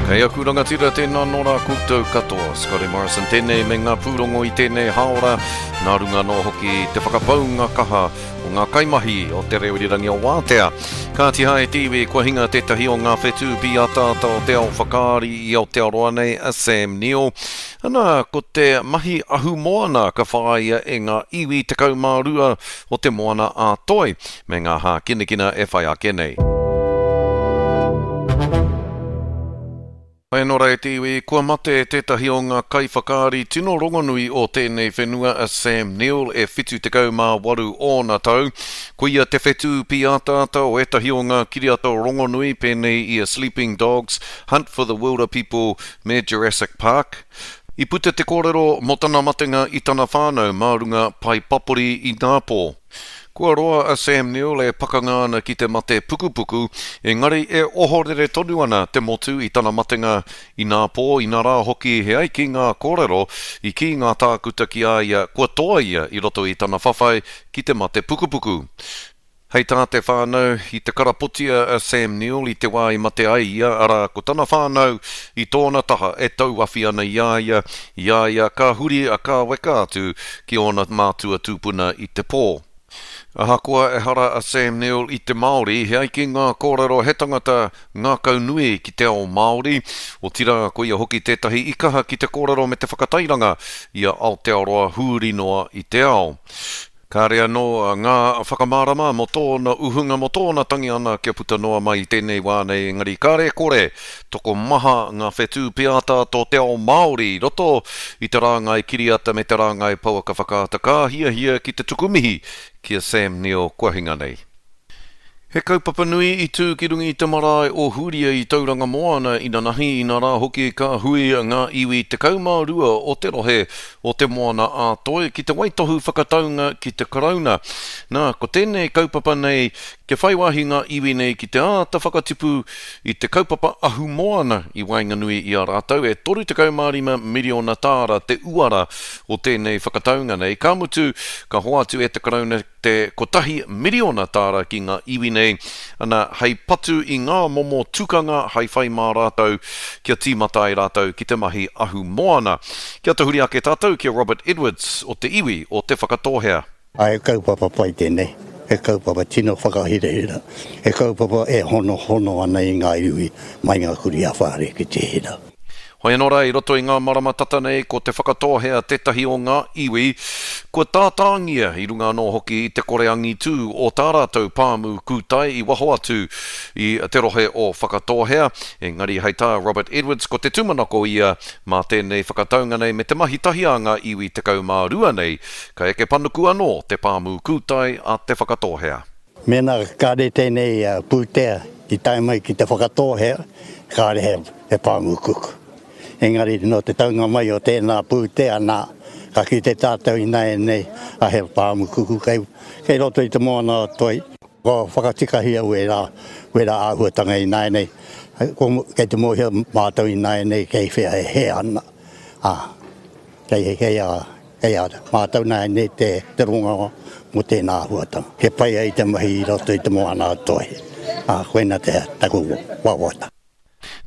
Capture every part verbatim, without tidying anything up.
Kei aku rangatira tēnā nō rā koutou katoa. Scotty Morrison tēnei me ngā pūrongo i tēnei haora. Nā runga nō hoki te whakapaunga kaha o ngā kaimahi o te reo irirangi o Wātea. Kāti hae te iwi kua hinga tētahi o ngā whetū pīataata o te ao whakaari i Aotearoa nei a Sam Neill. Ana, ko te mahi ahumoana ka whāia e ngā iwi tekau mā rua o te moana a Toi me ngā hākinakina e whai ake nei. Hei nō e te iwi, kua mate tētahi o ngā kaiwhakaari tino rongonui o tēnei whenua a Sam Neill e whitu tekau mā waru ōna tau. Ko ia te whetū pīataata o ētahi o ngā kiriata rongonui pēnei i a Sleeping Dogs, Hunt for the Wilder People me Jurassic Park. I puta te kōrero mō tana matenga i tana whānau mā runga pai papori i Ngāpō. Kua roa a Sam Neill e pakanga ana ki te mate pukupuku, engari e ohorere tonu ana te motu i tana matenga i Ngāpō, i nā rā hoki he ai ki ngā kōrero, i ki ngā tākuta ki a ia, kua toa ia i roto i tana whawhai ki te mate pukupuku. Hei tā te whānau, i te karapotia a Sam Neill i te wā i mate ai ia, arā ko tana whānau i tōna taha e tauawhi ana i a ia, i a ia ka huri a ka weka atu ki ōna mātua tūpuna i te pō. Ahakoa ehara a Sam Neill i te Māori, he ai ki ngā kōrero he tangata ngākau nui ki te ao Māori. Otirā, ko ia hoki tētahi i kaha ki te kōrero me te whakatairanga i a Aotearoa huri noa i te ao. Kāre anō ngā whakamārama mō tōna uhunga, mō tōna tangi ana kia puta noa mai i tēnei wā nei, engari kāre kore, tokomaha ngā whetū pīataata o te ao Māori i roto i te rāngai kiriata me te rāngai pouaka whakaata ka hiahia ki te tuku mihi ki a Sam Neill kua hinga nei. He kaupapa nui i tū ki runga i te marae o Huria i Tauranga Moana i nanahi i nā rā hoki ka hui ngā iwi tekau mā rua o te rohe o te Moana a Toi ki te waitohu whakataunga ki te Karauna. Nā, ko tēnei kaupapa nei kia whai wāhi ngā iwi nei ki te āta whakatipu i te kaupapa ahumoana i waenganui i a rātou e toru tekau mā rima miriona tāra te uara o tēnei whakataunga nei. Ka mutu, ka hoatu e te Karauna te kotahi miriona tāra ki ngā iwi nei, ana hei patu i ngā momo tukanga hei whai mā rātou kia tīmata ai rātou ki te mahi ahumoana. Kia tahuri ake tātou ki a Robert Edwards o te iwi o Te Whakatōhea. Ai, he kaupapa pai tēnei, he kaupapa tino whakahirahira, he kaupapa e hono hono ana i ngā iwi mai ngā kuri a whare ki te hira. Hoi anō rā, i roto i ngā marama tata nei, ko Te Whakatōhea tētahi o ngā iwi, kua tātāngia i runga anō hoki i te kore angitū o tā rātou pāmu kūtai i waho atu i te rohe o Whakatōhea. Engari hei tā Robert Edwards, ko te tūmanako ia mā tēnei whakataunga nei me te mahi tahi a ngā iwi tekau mā rua nei, ka eke panuku anō te pāmu kūtai a Te Whakatōhea. Mēnā kāre tēnei, uh, pūtea i tae mai ki Te Whakatōhea, kāre he, he pāmu kuku. Engari no te taunga mai o tēnā pūtea nā, ka ki te tātou i nāianei nei, a he pāmu kuku kei, kei roto i te moana o Toi. Ko whakatikahia wērā, wērā āhuatanga i nāianei nei, ko, kei te mōhio mātou i nāianei nei kei whea e he ana. Ah, kei, kei a, kei a mātou nāianei nei te, te ronga mō tēnā āhuatanga. He pai ai te mahi i roto i te moana o Toi. Ah, koina te taku wawata.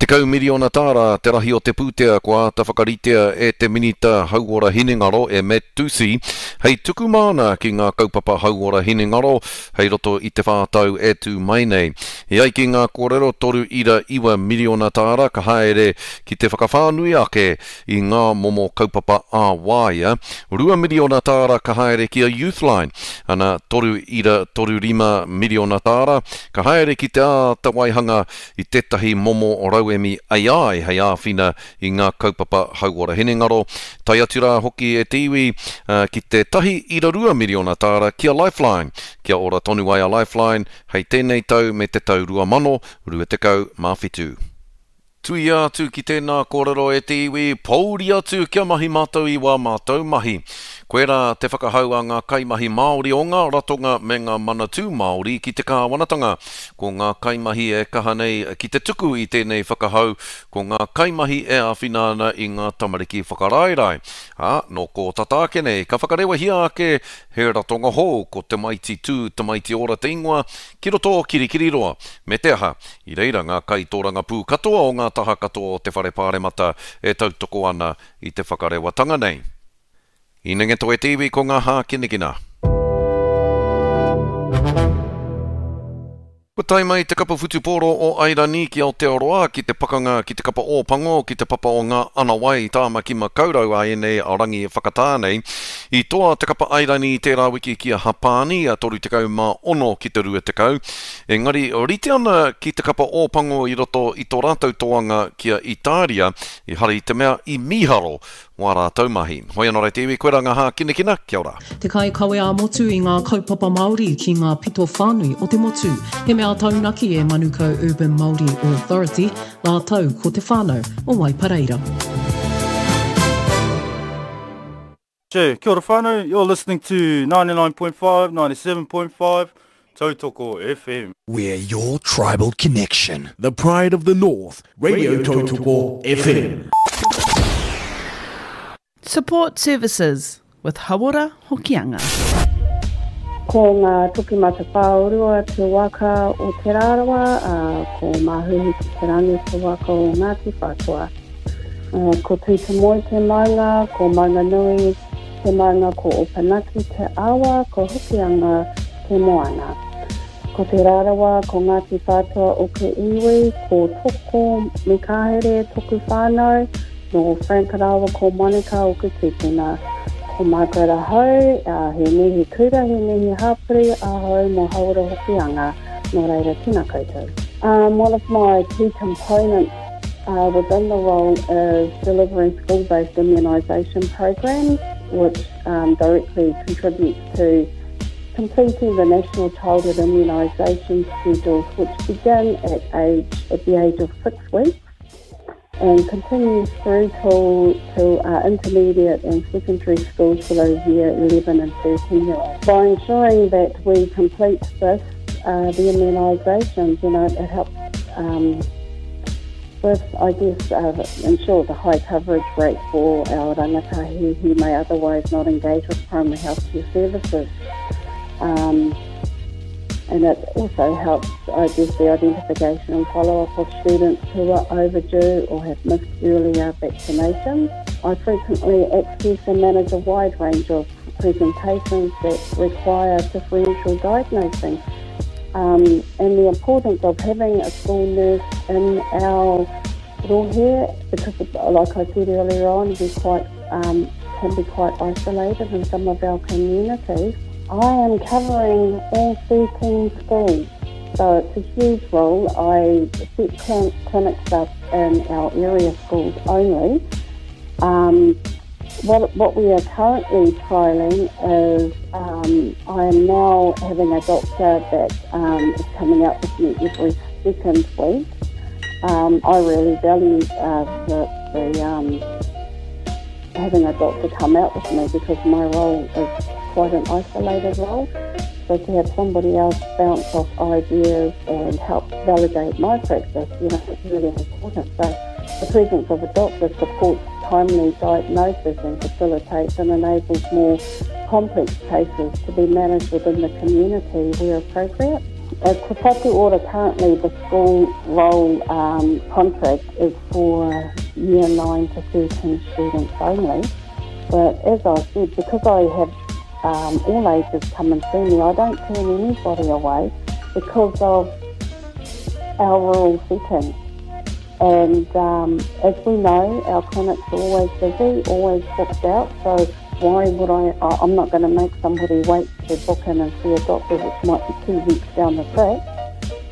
Tekau miriona tāra te rahi o te pūtea kua āta whakaritea e te Minita Hauora Hinengaro e Matt Doocey hei tuku māna ki ngā kaupapa hauora hinengaro hei roto i te whātau e tū mai nei. E ai ki ngā kōrero toru ira iwa miriona tāra ka haere ki te whakawhānui ake i ngā momo kaupapa ā-waea, rua miriona tāra ka haere ki a Youthline, ana toru ira toru rima miriona tāra ka haere ki te āta waihanga i tētahi momo rauemi A I hei āwhina i ngā kaupapa hauora hinengaro. Tai atu rā hoki e te iwi, uh, ki te tahi ira rua miriona tāra ki a Lifeline. Kia ora tonu ai a Lifeline hei tēnei tau me te tau rua mano, rua tekau mā whitu. Tuia atu ki tēnā kōrero e te iwi, pouri atu kia mahi mātou i wā mātou mahi. Koirā te whakahau a ngā kaimahi Māori o ngā ratonga me ngā manatū Māori ki te kāwanatanga. Ko ngā kaimahi e kaha nei ki te tuku i tēnei whakahau, ko ngā kaimahi e āwhina ana i ngā tamariki whakaraerae. Ā, nō kō tata ake nei, ka whakarewahia ake he ratonga hou, ko Tamaiti Tū, Tamaiti Ora te ingoa, ki roto o Kirikiriroa. Me te aha, i reira ngā kaitōrangapū katoa o ngā taha katoa o te whare pāremata e tautoko ana i te whakarewatanga nei. Inenge toe te iwi ko ngā hākinakina. Kua tae mai te kapa whutupōro o Airani ki Aotearoa ki te pakanga ki te kapa Ōpango ki te papa o ngā Anawai Tāmaki Makaurau a ēnei rangi whakatā nei. I toa te kapa Airani i tērā wiki ki a Hapāni a toru tekau mā ono ki te rua tekau. Engari rite ana ki te kapa Ōpango i roto i tō rātou toanga ki a Itāria, ehara i te mea i mīharo wā rātou mahi. Hoi anō rā te iwi, koirā ngā hākinakina, kia ora. Te kaikawe ā-motu i ngā kaupapa Māori ki ngā pito whānui o te motu. He mea taunaki e Manukau Urban Māori Authority rātou ko te whānau o Waipareira. Che, kia ora whānau, you're listening to ninety-nine point five, ninety-seven point five, Tautoko F M. We're your tribal connection. The pride of the North, Radio Tautoko F M. Support services with Hauora Hokianga. Ko ngā toki matawhāorua te waka o Te Rarawa, uh, ko Mahuhi ki te rangi te waka o Ngāti Whātua. Uh, ko Tūtamoe te maunga, ko Maunganui te maunga, ko Opunake te awa, ko Hokianga te moana. Ko Te Rarawa, ko Ngāti Whātua o ke iwi, ko Toko me Kahere toku whānau, no Frank Rāua ko Monica o ke tūpuna. Ko Margaret ahau, uh, he mihi kura, he mihi hāpori ahau mō Hauora Hokianga, nō reira tēnā koutou. Um, one of my key components uh, within the role is delivering school-based immunisation programs, which um, directly contributes to completing the National Childhood Immunisation Schedules, which begin at age at the age of six weeks and continues through till, till uh, intermediate and secondary schools for those year eleven and thirteen year olds. By ensuring that we complete this, uh, the immunisations, you know, it helps um, with, I guess, uh, ensure the high coverage rate for our rangatahi who may otherwise not engage with primary healthcare services. Um, and it also helps, I guess, the identification and follow-up of students who are overdue or have missed earlier vaccinations. I frequently access and manage a wide range of presentations that require differential diagnosing. Um, and the importance of having a school nurse in our rohe, because like I said earlier on, we quite, um, can be quite isolated in some of our communities. I am covering all thirteen schools, so it's a huge role. I set clin-, clinics up in our area schools only. Um, what, what we are currently trialling is um, I am now having a doctor that, um, is coming out with me every second week. Um, I really value, uh, the, the, um, having a doctor come out with me because my role is quite an isolated role. So to have somebody else bounce off ideas and help validate my practice, you know, it's really important. So the presence of a doctor supports timely diagnosis and facilitates and enables more complex cases to be managed within the community where appropriate. At Te Whatu Ora currently, the school role, um, contract is for year nine to thirteen students only. But as I said, because I have Um, all ages come and see me, I don't turn anybody away because of our rural setting. And, um, as we know, our clinics are always busy, always booked out, so why would I, I I'm not gonna make somebody wait to book in and see a doctor, which might be two weeks down the track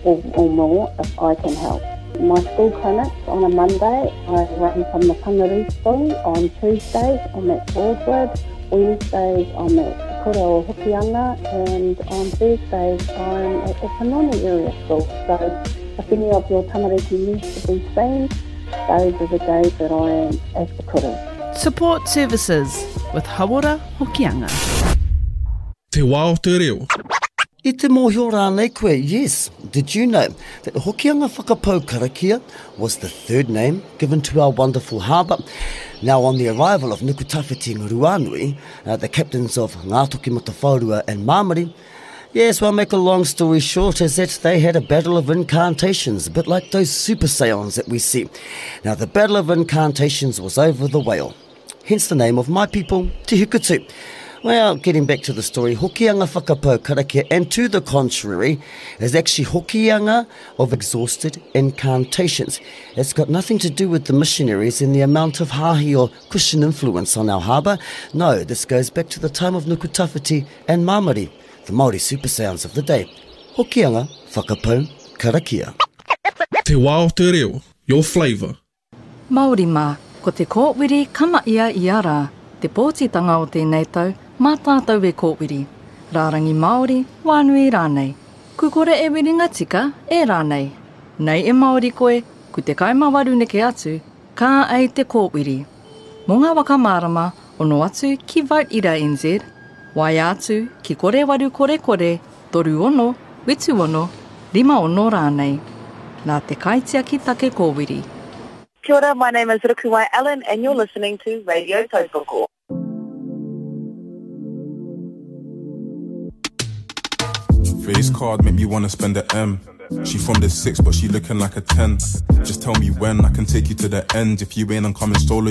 or, or more, if I can help. My school clinics on a Monday, I run from the Whangarei School. On Tuesdays, I'm at Broadwood. Wednesdays, I'm at Kura o Hokianga, and on Thursdays, I'm at Opononi area school. So if any of your tamariki needs to be seen, those are the days that I am at the kura. Support Services with Hauora Hokianga. Te wā o te reo. I te mōhio rānei koe, yes, did you know that Hokianga Whakapau Karakia was the third name given to our wonderful harbour? Now, on the arrival of Nukutawhiti and Ruanui, uh, the captains of Ngātokimatawhaorua and Māmari, yes, well, make a long story short, is that they had a battle of incantations, a bit like those super seance that we see. Now, the battle of incantations was over the whale, hence the name of my people, Te Hikutu. Well, getting back to the story, Hokianga Whakapau Karakia, and to the contrary, is actually Hokianga of exhausted incantations. It's got nothing to do with the missionaries and the amount of hahi or Christian influence on our harbour. No, this goes back to the time of Nukutawhiti and Māmari, the Māori super sounds of the day. Hokianga Whakapau Karakia. Te wā o te reo, your flavour. Māori mā, ko te kōwiri kama ia ia rā, te pōtitanga o tēnei tau, mā tātou e kōwiri. Rārangi Māori, wānui rānei. Ku kore e wiringa tika, e rānei. Nei e Māori koe, ku te kaima waru neke atu, ka ei te kōwiri. Mō ngā waka mārama, ono atu ki Vote Ira N Z, waea atu ki kore waru kore kore, toru ono, whitu ono, rima ono rānei. Nā te kaitiaki take kōwiri. Kia ora, my name is Rukuwai Allen and you're listening to Radio Tautoko. Face card make me wanna spend the M. She from the six, but she looking like a ten. Just tell me when I can take you to the end. If you ain't, I'm coming solo.